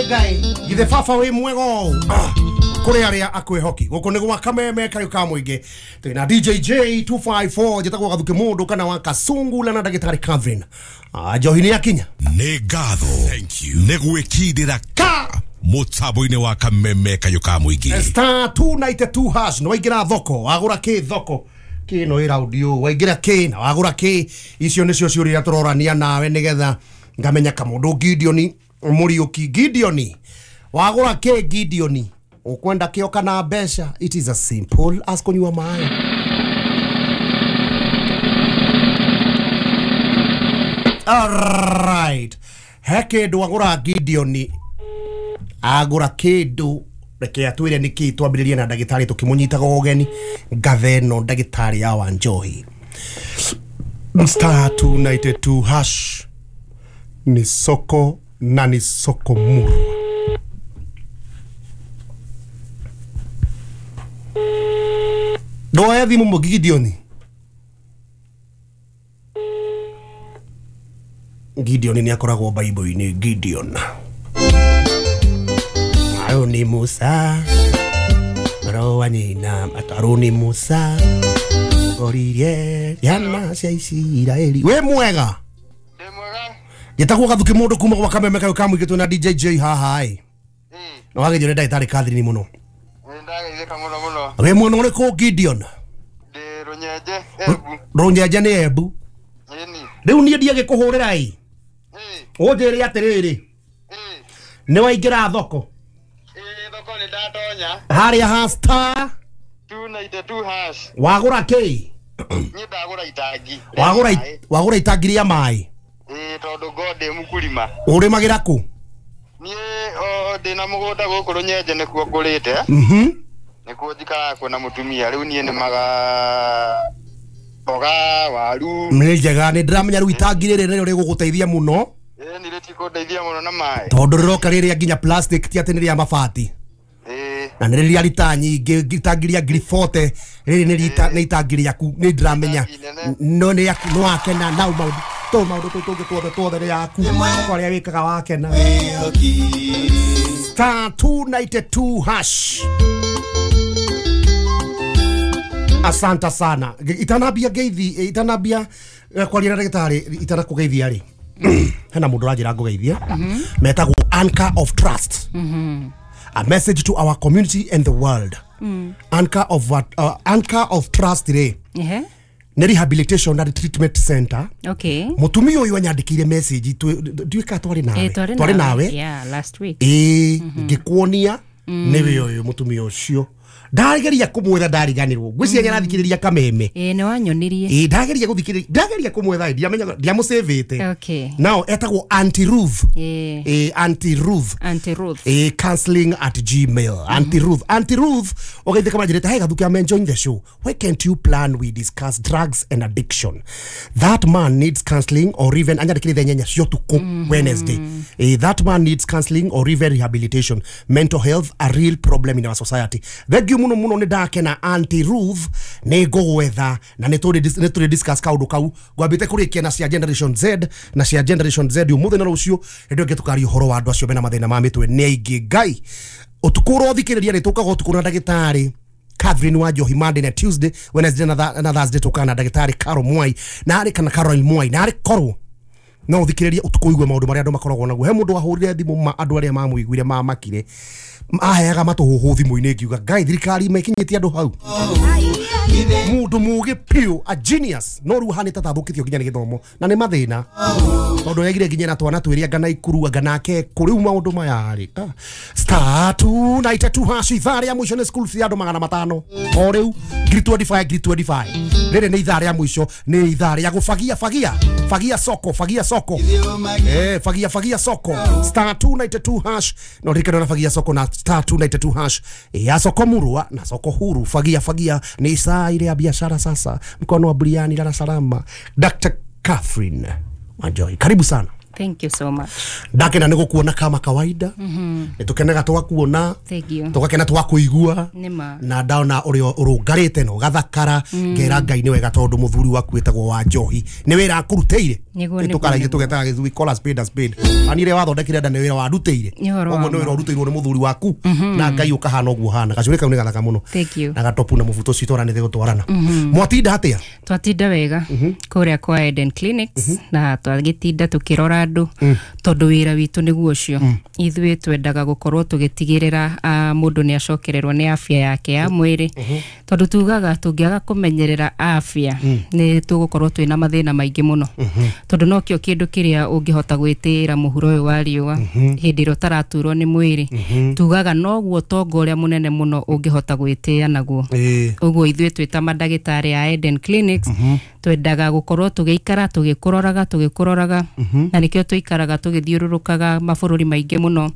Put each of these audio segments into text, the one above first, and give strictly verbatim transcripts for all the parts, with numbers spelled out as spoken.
Ngai githe baba wi mwega ũũ kũrĩ arĩa akwĩhoki gũkũ nĩ gwa Kameme kayũ ka mũingĩ twĩna D J J two five four njĩtagwo Gathuki mũndũ kana wa Kasungula na ndagĩtarĩ Catherine. Ah, njohi nĩ yakinya nĩ ngatho nĩ gwĩkindĩra ka mũtambo-inĩ wa Kameme kayũ ka mũingĩ star two nine two hash nĩ waingĩra thoko wagũra kĩ thoko kĩ no ĩ raundi ũũ waingĩra kĩ na wagũra kĩ icio nĩcio ciũria iria tũrorania nawe nĩgetha ngamenya kamũndũ Gideon Muriuki. Gideon wagũra kĩ Gideon ukwenda kĩo kana mbeca? It is as simple as kũnyua maĩ. Alright, he kĩndũ agũra Gideon agũra kĩndũ reke atwĩre nĩkĩ twambĩrĩrie na ndagĩtarĩ tũkĩmũnyitaga ũgeni ngathe ĩno ndagĩtarĩ ya Wanjohi. Star two nine two hash ni soko na ni soko murwa. Ndoya thimũ mũ Gideon. Gideon nĩ akoragwo Bible-inĩ. Gideon Aroni Musa Rowa nyina Aroni Musa oririe ciana cia Isiraeli. We mwega? Ndĩ mwega. Njĩtagwo Gathuki mũndũ kuma gwa Kameme kayũ ka mũingĩ twĩna D J J haha ĩ. Na wagĩthio nĩ ndagĩtarĩ Catherine mũno. Nĩ ndagĩthĩka mũno mũno. Wĩ mwena ũrĩkũ Gideon? Ndĩ Rũnyenje Embu. Rũnyenje nĩ Embu. Ĩni. Rĩu niĩ ndiagĩkũhũrĩra ĩ. Ũnjĩre atĩrĩrĩ. Nĩ waingĩra thoko? Ĩ thoko nĩ ndatonya. Harĩa ha star two nine two hash. Wagũra kĩ? Niĩ ndagũra itangi. Wagũra wagũra itangi rĩa maĩ? Ĩ tondũ ngo ndĩ mũkulima. Ũrĩmagĩra kũ? Niĩ o ndĩ na mũgũnda gũkũ Rũnyenje nĩkuo ngũrĩte. Mhm. Nĩkuo njikaraga kuo na mũtumia rĩu niĩ nĩmaga mboga waru. Nĩ njega nĩ ndĩramenya rĩu itangi rĩrĩ nĩrĩo rĩgũgũteithia mũno. Ĩ nĩ rĩtikũndeithia mũno na maĩ. Tondũ rĩroka rĩrĩa nginya plastic ti atĩ nĩ rĩa mabati. Ĩ na nĩ rĩrĩa rita nyingĩ itangi rĩa ngiri forty rĩrĩ nĩ rita nĩ itangi rĩaku nĩ ndĩramenya no nĩ yaku no wakena nau maũndũ tũ maũndũ tũ tũngĩ tuothe tuothe nĩ yaku kwarĩa wĩkaga wakena. Star two nine two hash. Asante sana. Itanambia ngeithi itanambia kwaria na ndagĩtarĩ itanakũgeithia rĩ hena mũndũ ũranjĩra ngũgeithie metagwo Anchor of Trust. A message to our community and the world. Mm. Anchor of uh, Anchor of Trust rĩ yeah. Nĩ rehabilitation and treatment center. Okay. Mũtumia ũyũ anyandĩkĩire message nduĩka twarĩ nawe twarĩ nawe yeah last week ĩĩ ngĩkuonia nĩwe ũyũ mũtumia ũcio ndageria kumwetha ndariganirwo ngwiciria mm. nĩarathikĩrĩria Kameme ĩĩ nĩ wanyonirie ĩĩ ndageria gũthikĩrĩria ndageria kumwetha ndiamenya ndiamũsavĩte. Okay. Now etagwo Auntie Ruth. Ĩĩ ĩĩ Auntie Ruth. Auntie Ruth ĩĩ counseling at Gmail. Auntie Ruth Auntie Ruth ũgeithĩka manjĩrĩte hey Gathuki, I'm enjoying the show. Why can't you plan we discuss drugs and addiction? That man needs counseling or even anyandĩkĩrĩte nyenya cio tukũ Wednesday. Ĩĩ that man needs counseling or even rehabilitation. Mental health a real problem in our society. Thank you muno muno nĩ ndakena Auntie Ruth nĩ ngũgwetha na nĩ tũrĩ discuss kaũndũ kau ngwambĩte kũrĩkia na cia Generation Z na cia Generation Z ũmũthĩ na rũciũ hĩndĩ ĩngĩ tũkaria ũhoro wa andũ acio mena mathĩna ma mĩtwe nĩ aingĩ Ngai ũtukũ ũrothikĩrĩria nĩ tũkaga ũtukũ na ndagĩtarĩ Catherine Wanjohi Monday na Tuesday Wednesday na Thursday tũkaga na ndagĩtarĩ Carol Mwai na arĩ kana Caroline Mwai na arĩ korwo no ũthikĩrĩrie ũtukũ ũigue maũndũ marĩa andũ makoragwo naguo. He mũndũ wahũrire thimũ ma andũ arĩa mamũiguire mamakire aheaga matũhũhũ thimũ-inĩ ngiuga Ngai thirikari mekinyĩtie andũ hau mũndũ mũgĩ piũ a genius no rĩu ahanĩte ta athũkĩtio nginya nĩ gĩthomo na nĩ mathĩna tondũ yagire nginya na twana twĩrĩ anga na ikuru anga nake kũ rĩu maũndũ maya rĩ star two nine two hash ithaa rĩa mũico nĩ school fee andũ magana matano o rĩu ngiri twenty five ngiri twenty five rĩrĩ nĩ ithaa rĩa mũico nĩ ithaa rĩa gũbagia fagia fagia soko fagia soko eh fagia fagia soko star two nine two hash no ririkana na fagia soko na star two nine two hash ya soko murwa na soko huru fagia fagia ni saa ile ya biashara sasa mkono wa buriani Dar es Salaam. Doctor Catherine Wanjohi karibu sana. Thank you so much. Ndakena nĩ gũkuona kama kawaida. Mhm. Nĩ tũkenaga twakuona. Thank you. Tũgakena twakũigua. Nĩma. Na ndaona ũrĩa ũrũngarĩte na ũgathakara. Mm. Ngera Ngai nĩ wega tondũ mũthuri waku wĩtagwo Wanjohi nĩ wĩra akũrutĩire. Nĩguo, nĩguo, Tukaragia nĩguo. Tugetaga, we call a spade a spade. Ani ria wathondekire nda nĩ wĩra warutĩire. Nĩ ũhoro wa Ũguo nĩ ma. wĩra ũrutĩirwo nĩ mũthuri waku na Ngai ũkahana ũguo hana. Gacũrĩ kau nĩ gathaka mũno. Thank you. Na gatopu na mũbuto ũcio twaranĩte gũtwarana. Mwatinda atĩa? Twatinda wega kũrĩa kwa Eden Clinics na twagĩtinda tũkĩrora andũ tondũ wĩra witũ nĩguo ũcio. Ithuĩ twendaga gũkorwo tũgĩtigĩrĩra ah, mũndũ nĩ acokererwo nĩ afya yake ya mwĩrĩ, tondũ tugaga tũngĩaga kũmenyerera afya nĩ tũgũkorwo twĩna mathĩna maingĩ mũno, tondũ nokĩo kĩndũ kĩrĩa ũngĩhota gwĩtĩĩra mũhuro ũyũ wa riũa hĩndĩ ĩrĩa ũtaraturwo nĩ mwĩrĩ. Tugaga noguo tonga ũrĩa mũnene mũno ũngĩhota gwĩtĩĩa naguo. Ĩĩ. Ũguo ithuĩ twĩ ta mandagĩtarĩ a Eden Clinics twendaga gũkorwo tũgĩikara tũgĩkũroraga tũgĩkũroraga na nĩkĩo tũikaraga tũgĩthiũrũrũkaga mabũrũri maingĩ mũno,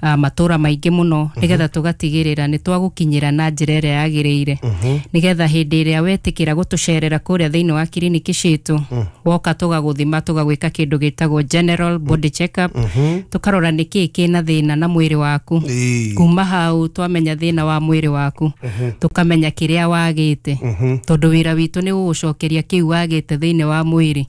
ah, matũra maingĩ mũno, nĩgetha tũgatigĩrĩra nĩ twagũkinyĩra na njĩra ĩrĩa yagĩrĩire, nĩgetha hĩndĩ ĩrĩa wetĩkĩra gũtũcerera kũrĩa thĩinĩ wa kiriniki citũ, woka tũgagũthima, tũgagwĩka kĩndũ gĩtagwo general body check up, tũkarora nĩkĩĩ kĩna thĩna na mwĩrĩ waku. Ĩĩ. Kuma hau twamenya thĩna wa mwĩrĩ waku, tũkamenya kĩrĩa wagĩte, tondũ wĩra witũ nĩ gũgũcokeria kĩu wagĩte thĩinĩ wa mwĩrĩ,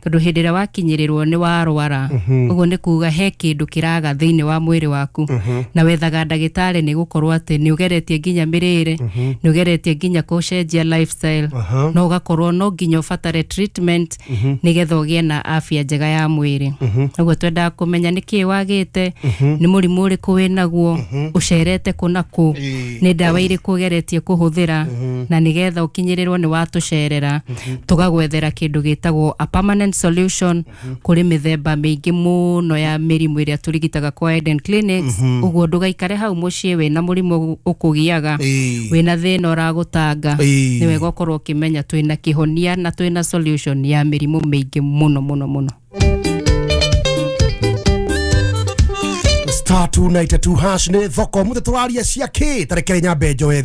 tondũ hĩndĩ ĩrĩa wakinyĩrĩrwo nĩ warwara, ũguo nĩ kuga he kĩndũ kĩraga thĩinĩ wa mwĩrĩ waku, na wethaga ndagĩtarĩ nĩ gũkorwo atĩ nĩ ũgeretie nginya mĩrĩre, nĩ ũgeretie nginya gũcenjia lifestyle, no ũgakorwo no nginya ũbatare treatment nĩgetha ũgĩe na afya njega ya mwĩrĩ. Ũguo twendaga kũmenya nĩkĩĩ wagĩte, nĩ mũrimũ ũrĩkũ wĩnaguo, ũcerete kũ na kũ, nĩ ndawa irĩkũ ũgeretie kũhũthĩra, na nĩgetha ũkinyĩrĩrwo nĩ watũcerera tũgagwethera kĩndũ gĩtagwo a permanent solution kũrĩ mĩthemba mĩingĩ mũno ya mĩrimũ ĩrĩa tũrigitaga kwa Eden Clinics. Ũguo ndũgaikare hau mũciĩ wĩna mũrimũ ũkũgiaga, Ĩĩ. wĩna thĩna ũragũtanga. Ĩĩ. Nĩ wega ũkorwo ũkĩmenya twĩna kĩhonia na twĩna solution ya mĩrimũ mĩingĩ mũno mũno mũno. Star two nine two hash nĩ thoko mũthĩ tũraria cia kĩ tarekere nyambe njoe.